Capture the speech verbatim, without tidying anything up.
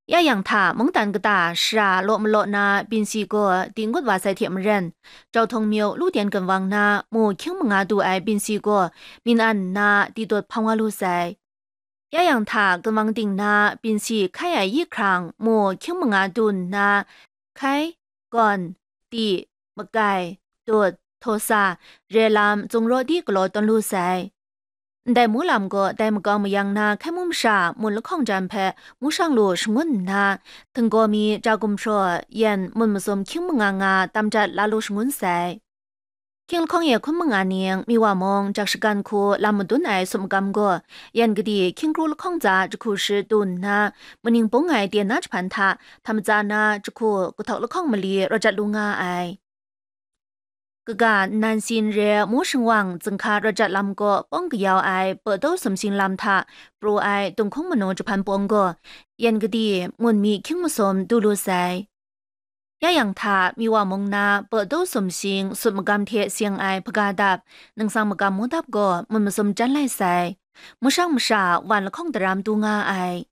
Ya yang hta, mungdan kata shara law malaw na binsi gaw di ngut wa sai hte maren, Jauhtawng myu lu ten ginwang na mu hkying manga du ai binsi gaw myin an nna di dawt hpang wa lu sai. Ya yang hta, ginwang ting na binsi hkai ai yi hkrang mu hkying manga du nna, hkai, gawn, di, makai, dut, htaw sa, re lam, zungraw di galaw tawn lu sai. Ndai mu lam gaw dai makau mayang na hkai mu masha mun lahkawng jan hpe mu shang lu shangun nna, htinggaw mi ja gumhpraw yan mun masum hkying manga nga tam jat la lu shangun sai. Hkying lahkawng e hkun manga ning Miwa mung jak shagan hku lam madun ai sum magam gaw, yan gadi hkying kru lahkawng tsa jahku shi du nna, maning bung ai ten na jahpan hta htam matsa na jahku kahtawk lahkawng mali rawt jat lu nga ai. Kaga nnan sin re mu shingwang zinghka rawt jat lam kaw pawng kayau ai Pawdaw Sumsing lam hta pru ai Tunghkung Manu jahpan pawng gaw, yan gadi mun mi hkying masum du lu sai. Ya yang hta, Miwa mung na Pawdaw Sumsing sut magam hte seng ai hpaga dap, ningsang magam mu dap gaw mun masum jan lai sai. Mu shang masha wan lahkawng daram du nga ai.